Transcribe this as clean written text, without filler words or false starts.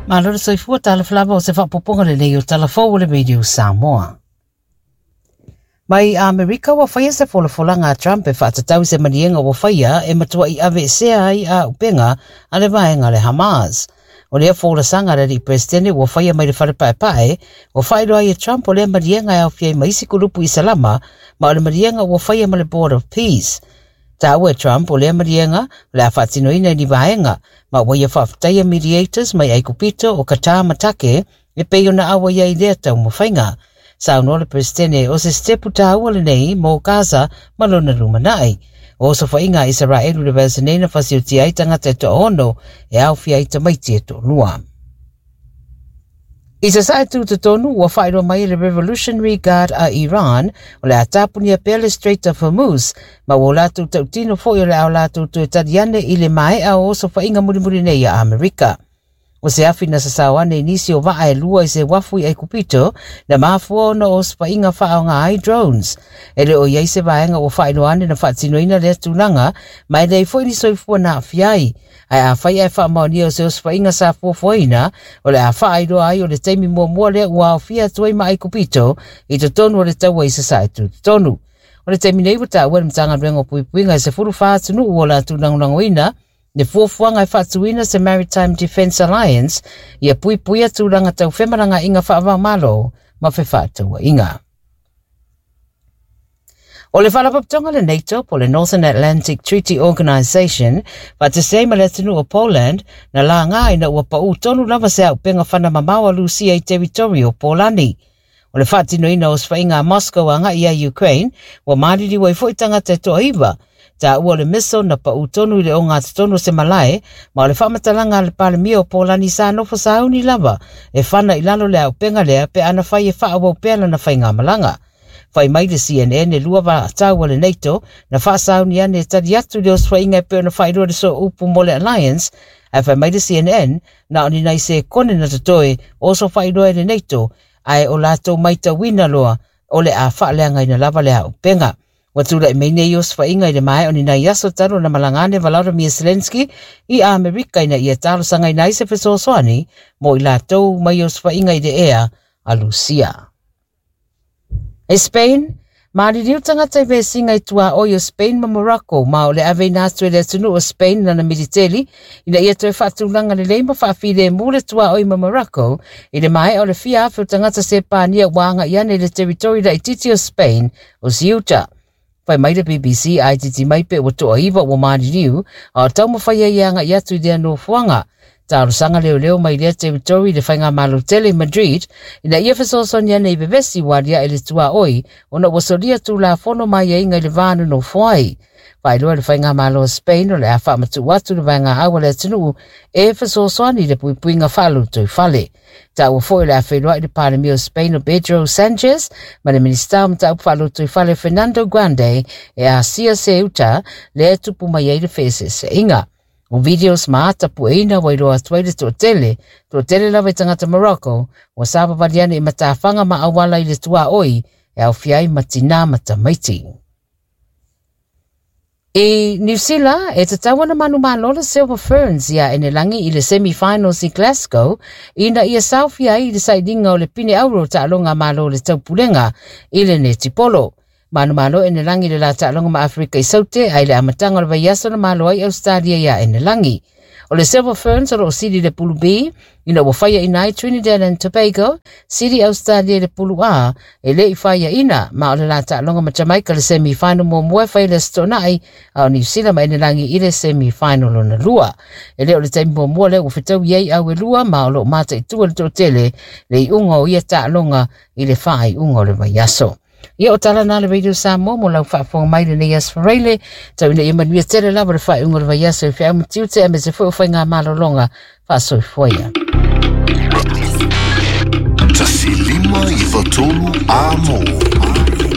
Malo le soifua talofa lava o se faaopoopoga lelei o tala fou o le Radio Samoa. Mai Amerika ua faia se folafolaga a Trump e faatatau i se maliega ua faia e matuai aveesea ai auupega a le vaega a le Hamas. O lea folasaga a le alii Peresetene ua faia mai le fale paepae, ua faailoa ai e Trump o lea maliega e aofia ai ma isi kulupu Isalama, ma o le maliega ua faia ma le Board of Peace. Taua e Trump o lea maliega o le a faatinoina i ni vaega, ma ua ia faafetaia mediators mai Aikupito o Qatar ma Take e pei ona auai ai i lea taumafaiga. Saunoa le Peresetene o se sitepu taua lenei mo Gaza ma lona lumanai. O osofaiga a Isaraelu i le vaiaso nei na fasiotia ai tagata e toaono e aofia ai tamaiti e toalua. I Sasae Tutotonu, ua faailoa mai e le Revolutionary Guard a Iran o le a tapunia pea le Strait of Hormuz, ma ua o latou tautino foi o le a o latou toe tali ane i le maea o osofaiga mulimuli nei a Amerika. O se afi na sasao ane i nisi o vaa e lua i se uafu i Aikupito, na mafua ona o osofaiga faaaoga ai drones. E le o i ai se vaega ua faailoa ane na faatinoina lea tulaga, ma e leai foi ni soifua na aafia ai. Ae afai ae faamaonia o se osofaiga sa fuafuaina, o le a faailoa ai o le taimi muamua lea ua aofia atu ai ma Aikupito i totonu o le taua i Sasae Tutotonu. O le taimi nei ua taua e le Matagaluega o Puipuiga e 14 atunuu ua latou lagolagoina le fuafuaga e faatuina se Maritime Defence Alliance ia puipuia tulaga tau femalagaaiga faava-o-Malo ma fefaatauaiga. O le Faalapotopotoga a le NATO po o le Northern Atlantic Treaty Organization faatasi ai ma le atunuu o Poland na laga ina ua pau tonu lava se auupega fana mamao a Lusia i teritori o Polani. O le faatinoina o osofaiga a Moscow agai ia Ukraine ua maliliu ai foi tagata e toaiva. Taua o le missile na pau tonu i le ogatotonu o se malae, ma o le faamatalaga a le Palemia o Polani sa nofo sauni lava e fana i lalo le auupega lea pe ana fai e faaauau pea lana faigamalaga. Fai mai le CNN e lua vaatau a le NATO na faasauni ane e tali atu i le osofaiga e pei ona faailoa le sooupu mo le Alliance, ae fai mai le CNN na o ni nai sekone na totoe o osofailoa e le NATO, ae o latou maitauina loa o le a faaleagaina lava le auupega. Ua tulai mai nei osofaiga i le maea o ni nai aso talu ona malaga ane Volodymyr Zelensky i Amerika ina ia talosagaina ai se fesoasoani mo i latou mai osofaiga i le ea a Lusia. E Spain, maliliu tagata i vesiga i tuaoi o Spain ma Morocco, ma o le aveina atu e le atunuu o Spain lana militeli ina ia toe faatulaga lelei ma faafilemu le tuaoi ma Morocco i le maea o le fia afe o tagata Sepania ua agai ane i le teritori laitiiti o Spain o Ceuta. Fai mai le BBC a itiiti mai pe ua toaiva ua maliliu a o taumafai ai e agai atu i lea nofoaga. Talosaga leoleo mai lea teritori i le faigamalo tele i Madrid ina ia fesoasoani ane i vevesi ua aliae le tuaoi ona ua solia tulafono ma aiaiga i le va nonofo ai. Faailoa e le faigamalo o Spain o le a faamatuu atu le vaega au a le atunuu e fesoasoani i le puipuiga faalotoifale. Taua foi o le a feiloai le Palemia o Spain o Pedro Sanchez ma le Minisita o Mataupu Faalotoifale Fernando Grande e asia Ceuta lea e tupu mai ai le feeseeseaiga. O videos ma ata pueina ua iloa atu ai le toatele, toatele lava i tagata Morocco ua savavali ane i matafaga ma auala i le tuaoi e aofia ai ma tinā ma tamaiti. I Niu Sila, e tatau ana manumalo le Silver Ferns iā Enelangi i le semi-finals i Glasgow ina ia saofia ai i le sailiga o le pine auro o taaloga a Malo o le Taupulega i le netipolo. Manumalo Enelangi i le la taaloga ma Aferika i Saute ae i le amataga o le vaiaso na malo ai Ausetalia iā Enelangi. O le Silver Ferns o lo o sili i le pulu B ina ua faiaina ai Trinidad and Tobago, sili Australia i le pulu A e le i faiaina, ma o le la taaloga ma Jamaica le semi-final muamua e fai i le Aso Toonai, a o Niu Sila ma Enelangi i le semi-final lona lua. E le o le taimi muamua lea ua fetaui ai au e lua, ma o lo o mataitu e le toatele le iuga o ia taaloga i le faaiuga o le vaiaso. Ia o tala na le Radio Samoa mo lau faafofoga mai lenei aso Faraile, tau ina ia manuia tele lava le faaiuga o le vaiaso i feau ma tiute aemaise foi o faiga malologa faasoifua ia. 1 5 9 3 Amo.